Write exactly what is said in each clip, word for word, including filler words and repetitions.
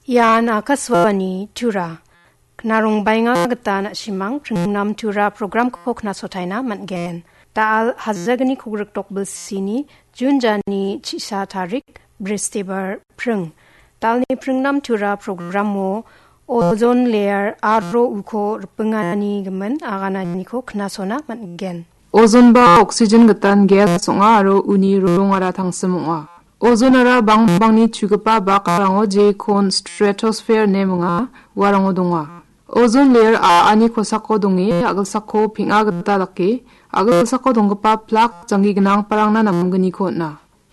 Ian Akashvani Tura. Knarongbaenga gita na·simang pringnam Tura programko knasotaina man·gen. Da·al hajalgni kogrikdok bilsini Jun jani chisa tarik, Bristibar pring. Da·alni pringnam Tura programo ozone layer aro uko ripingani gimin agananiko knasona man·gen. Ozone ba oxygen gitan gas ong·a aro uni rongara tangsim ong·a. Ozonara bangbangni chugipa bakarango jekon stratosphere ine minga, uarango donga. Ozone layer a·ani kosako donge, a·gilsako peng·a gita dake, a·gilsako donggipa plak janggi gnangparangna namgniko on·a.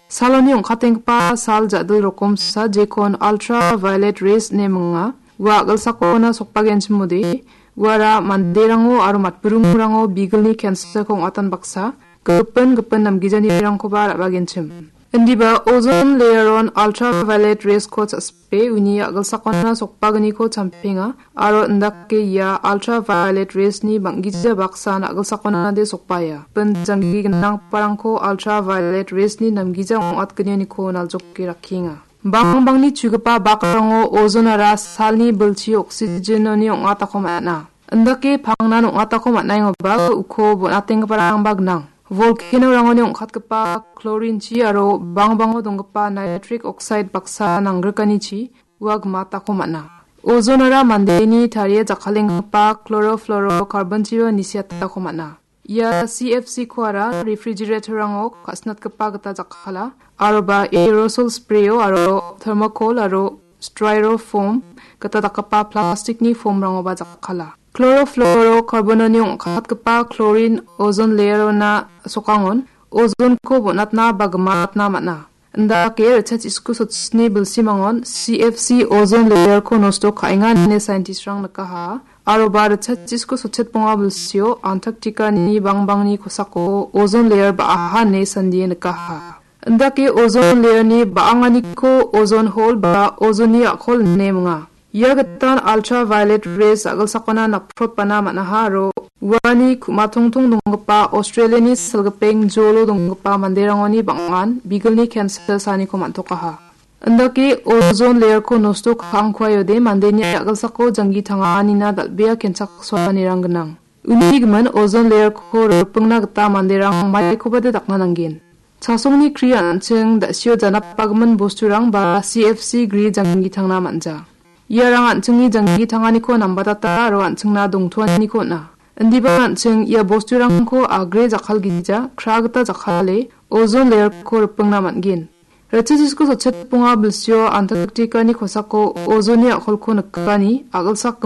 Saloni ong·katenggipa sal ja·dil rokomsa jekon ultraviolet rays ine minga. Ua a·gilsakona sokbagenchimode, uara manderango aro matburingrango bigilni cancer-ko ong·atan baksa, gipin gipin namgijanirangkoba ra·bagenchim. Indiba ozone layer-on ultraviolet rays-ko cha·spe uni a·gilsakona sokbagniko champenga, aro indake ia ultraviolet rays-ni bang·gija baksan a·gilsakonade sokbaia. Bin janggi gnanggiparangko ultraviolet rays-ni namgija ong·atgenioniko naljoke rakkienga. Bangbangni chugipa bakrango ozonara salni bilchi oxygen-oni ong·atako man·a. Indake pangnan ong·atako man·aengoba uko bon·atenggiparangba gnang. Volcano-rangoni ong·katgipa chlorine-chi aro bangbango donggipa nitric oxide baksa nanggrikanichi ua gimatako man·a. Ozonara mandeni tarie jakkalenggipa chlorofluorocarbon-chiba nisiatako man·a. Ia C F C-koara refrigerator-rango ka·sinatgipa gita jakkala, aroba aerosol sprayo aro thermocol aro styrofoam gita dakgipa plastikni foam-rangoba jakkala. Chlorofluorocarbon-oni ong·katgipa chlorine ozone layer-ona sokangon ozonko bon·atna ba gimatna man·a. Indake ritchasisku sotsni bilsimangon C F C ozone layer-ko nosto ka·enga ine scientist-rang nikaha. Aroba ritchasisku sotchet bonga bilsio Antarctica-ni bangbangni kosako ozone layer ba·aha ine sandie nikaha. Indake ozone layer-ni ba·anganiko ozone hole ba ozone-ni a·kol ine minga. Ia gitan ultraviolet rays a·gilsakona napprotbana man·aha aro uani ku·matongtong donggipa Australia-ni silgipeng jolo donggipa manderangoni bang·an bigilni cancer saniko man·tokaha. Indake ozone layer-ko nosto ka·angkuaiode mandeni a·gilsako janggi tanganina dal·bea kenchaksoanirang gnang. Uni gimin ozone layer-ko ripingna gita manderang maikobade dakna nanggen. Chasongni kri an·ching da·sio janapbagimin bosturang ba C F C gri janggi tangna man·ja. Iarang an·chingni janggi tanganiko nambatata aro an·chingna dongtoaniko on·a. Indiba an·ching ia bosturangko agre jakkalgija, kra gita jakkale, ozone layer-ko ripingna man·gen. Ritchasisku sotchet bonga bilsio Antarctica-ni kosako ozone-ni a·kolko nikani, a·gilsak